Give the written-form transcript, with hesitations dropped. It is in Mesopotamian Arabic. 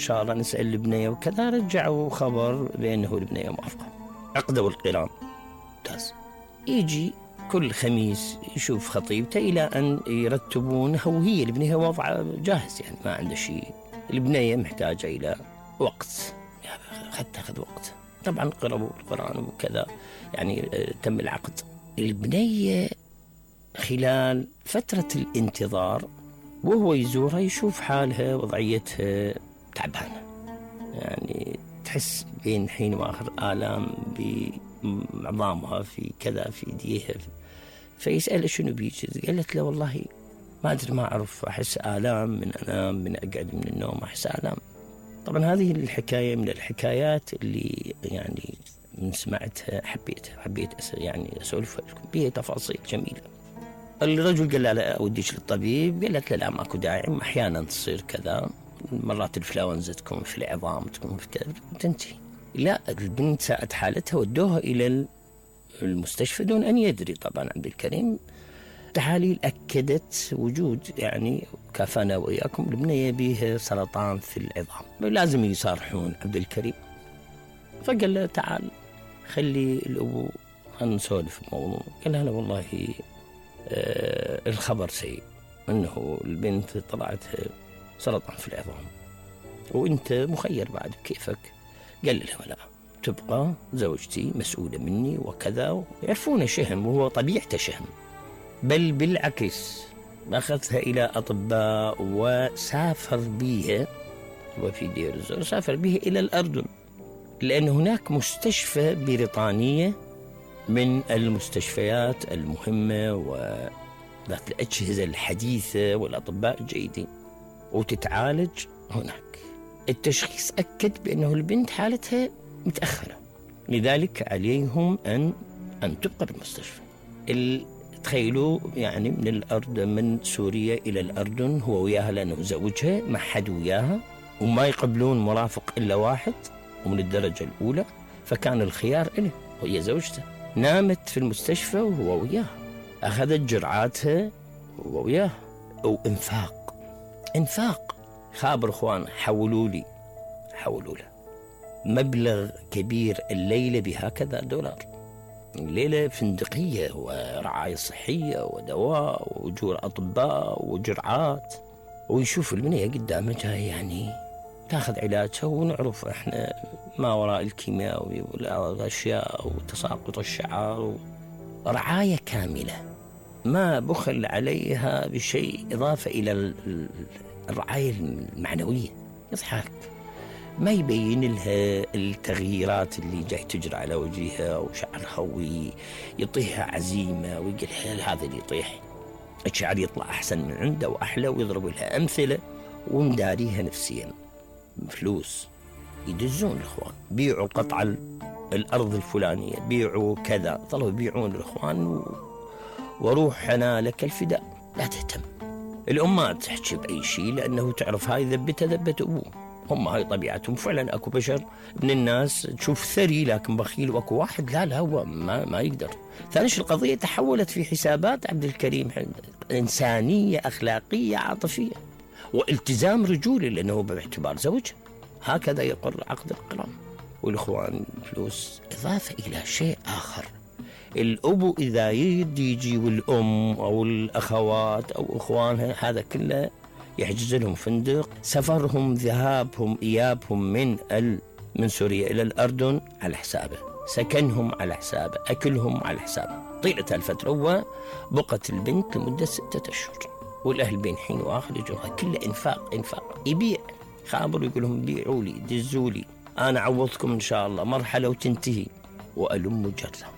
شاء الله نسأل البنية وكذا، رجعوا خبر بأنه البنية موافقة. عقدوا القران ممتاز. يجي كل خميس يشوف خطيبته إلى أن يرتبونه، وهي البنية وضع جاهز يعني ما عنده شيء. البنية محتاجة إلى وقت، تاخذ وقت. طبعا قرأوا القرآن وكذا يعني تم العقد. البنية خلال فترة الانتظار وهو يزورها يشوف حالها وضعيتها تعبانة، يعني تحس بين حين وآخر آلام بعظامها في كذا في ايديها. فيسأل شنو بيك؟ قالت له والله ما أدري، ما أعرف، أحس آلام من أنام، من أقعد من النوم أحس آلام. طبعا هذه الحكاية من الحكايات اللي يعني من سمعتها حبيت يعني أسولف لكم بها تفاصيل جميلة. الرجل قال لا أوديك للطبيب، قالت له لا ماكو داعي، أحيانا تصير كذا، مرات الإنفلونزا تكون في العظام تكون في كذا تنتهي. لا، البنت ساءت حالتها ودوها إلى المستشفى دون أن يدري. طبعا عبد الكريم تحاليل أكدت وجود يعني كافانا وإياكم البنية بيها سرطان في العظام، لازم يصارحون عبد الكريم. فقال له تعال خلي الأبو نسولف الموضوع. قال له والله الخبر سيء، أنه البنت طلعت سرطان في العظام وأنت مخير بعد كيفك. قال له لا، تبقى زوجتي مسؤولة مني وكذا. يعرفون شهم وهو طبيعته شهم، بل بالعكس أخذها إلى أطباء وسافر بيها، وفي دير الزور سافر بيها إلى الأردن، لأن هناك مستشفى بريطانية من المستشفيات المهمة وذات الأجهزة الحديثة والأطباء الجيدين، وتتعالج هناك. التشخيص أكد بأنه البنت حالتها متأخرة، لذلك عليهم أن تبقى بالمستشفى. تخيلوا يعني من الأردن، من سوريا إلى الأردن هو وياها لأنه زوجها، ما حد وياها وما يقبلون مرافق إلا واحد ومن الدرجة الأولى، فكان الخيار إله وهي زوجته. نامت في المستشفى وهو وياها، أخذت جرعاتها وهو وياها. وإنفاق خابر إخوان، حولوا له مبلغ كبير الليلة بهكذا $. الليلة فندقية ورعاية صحية ودواء وأجور أطباء وجرعات. ويشوف البنية قدامه جاي يعني تاخذ علاجها، ونعرف احنا ما وراء الكيماوي والأشياء وتساقط الشعر، ورعاية كاملة ما بخل عليها بشيء إضافة إلى الرعاية المعنوية. يضحك، ما يبين لها التغييرات اللي جاي تجري على وجهها وشعرها، ويطيها عزيمة ويقول هذا اللي يطيح الشعر يطلع أحسن من عنده وأحلى، ويضرب لها أمثلة ومداريها نفسيا. فلوس يدزون الإخوان، بيعوا قطع الأرض الفلانية، بيعوا كذا، ظلوا يبيعون الإخوان وروح أنا لك الفداء. لا تهتم الأم ما تحكي بأي شيء، لأنه تعرف هاي ذبت أبوه، هم هاي طبيعتهم. فعلا أكو بشر من الناس تشوف ثري لكن بخيل، وأكو واحد لا هو ما يقدر. ثاني القضية تحولت في حسابات عبد الكريم إنسانية أخلاقية عاطفية والتزام رجولي، لأنه باعتبار زوج هكذا يقر عقد القران. والإخوان فلوس إضافة إلى شيء آخر. الأبو إذا يجي والأم أو الأخوات أو إخوانها هذا كله يحجز لهم فندق، سفرهم ذهابهم إيابهم من سوريا إلى الأردن على حسابه، سكنهم على حسابه، أكلهم على حسابه طيلة الفترة. وبقت البنت لمدة 6 أشهر، والأهل بين حين وآخر يجوها كله إنفاق. يبيع خابر يقول لهم بيعوا لي دزوا لي، أنا عوضكم إن شاء الله، مرحلة وتنتهي وألم جرة.